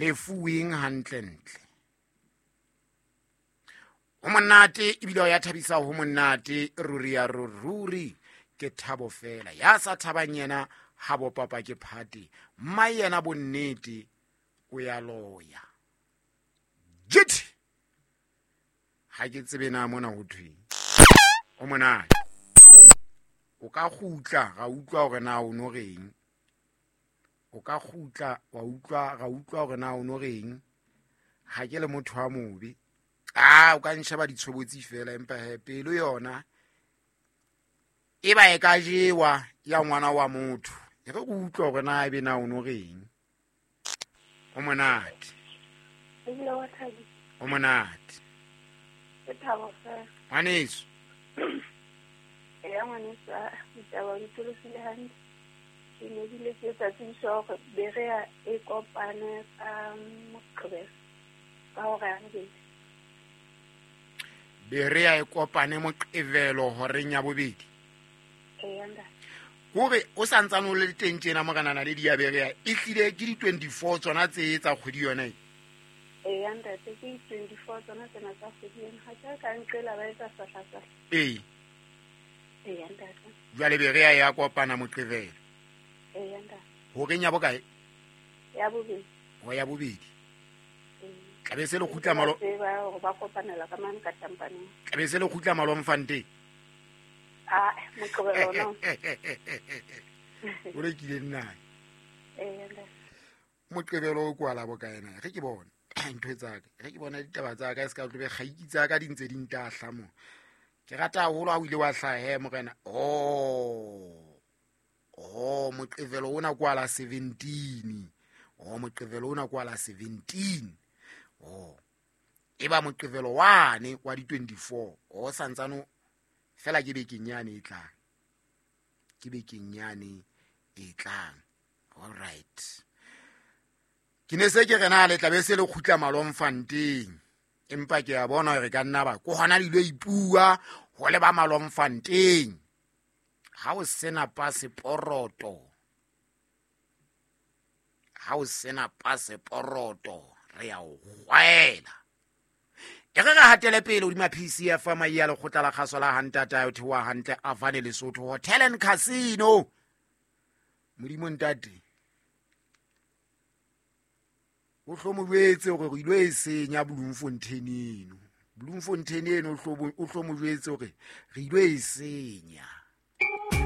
Lefuweng hantlentle. Ho monate ebile o ya thabisa, ho monate ruri ya ruri, ke thabo fela. Ya sa thabang yena ha bo papa ke phate, mma yena bonnete o ya loya. Jit! Ha ke tsebe na mona ho thweng. O monate. O ka kgutla ra utlwa hore na o no reng. O ka kgutla wa utlwa ra utlwa hore na o no reng. Ha ke le motho wa mobe. A o ka nsheba ditshobotsi fela, empa he pelo yona e ba e ka jewa ya ngwana wa motho. E re o utlwa hore na ebe na o no reng. O monate. O monate. Ke thabo fela. Ngwaneso. Eya ngwaneso, ditaba di tolokile hantle. Ke ne bile ke etsa tsebiso hore Berea e kopane ka Moqebelo ka hora ya bobedi. Berea e kopane Moqebelo horeng ya bobedi. Eya ntate. Hore o sa ntsane o le teng tjena morena Naledi ya Berea e hlile ke di-24 tsona tse tsa kgwedi yona e. Eya ntate, ke di-24 tsona tsena tsa kgwedi ena. Ha ke ka nqela ba etsa sahla-sahla. Ee. Eya ntate. Jwale Berea ya kopana Moqebelo. Eya ntate. Horeng ya bokae? Ya bobedi. Ho ya bobedi. Ee. Tlabe se le kgutla malo. Tseba hore ba kopanela ka mane ka tampaneng. Tlabe se le kgutla Malomfanteng. Ah, Moqebelo ona. O rekile nna. Eya ntate. Moqebelo o kwala bokae na? Ge ke bona ntho tsa ka, ge ke bona ditaba tsa ka, e se ka tlobe kgaiki tsa ka di ntse di ntahla mo. Ke rata haholo ha o ile wa hlaha he morena. Oh. Oh, Moqebelo ona kwala 17. Oh, Moqebelo ona kwala 17. Oh. E ba Moqebelo wane wa di 24. Oh, santsano fela ke bekeng yane e tlang. Ke bekeng yane e tlang. All right. Ke ne se ke re na le tlabe se le kgutla Malomfanteng. Empa ke a bona hore ka nna ba ko hona le ilo ipua ho le ba Malomfanteng. Ha o sena paseporoto. Ha o sena paseporoto re ya o kgwaela. E re re hatele pele hodima PCF mai ya lekgotla la kgaso la Hantata o theoha hantle Avane Lesotho Hotel and Casino. Modimo ntate. O hlo mo jwetse hore re ilo e senya Bloemfontein eno. Bloemfontein eno o hlo mo jwetse hore re ilo e senya.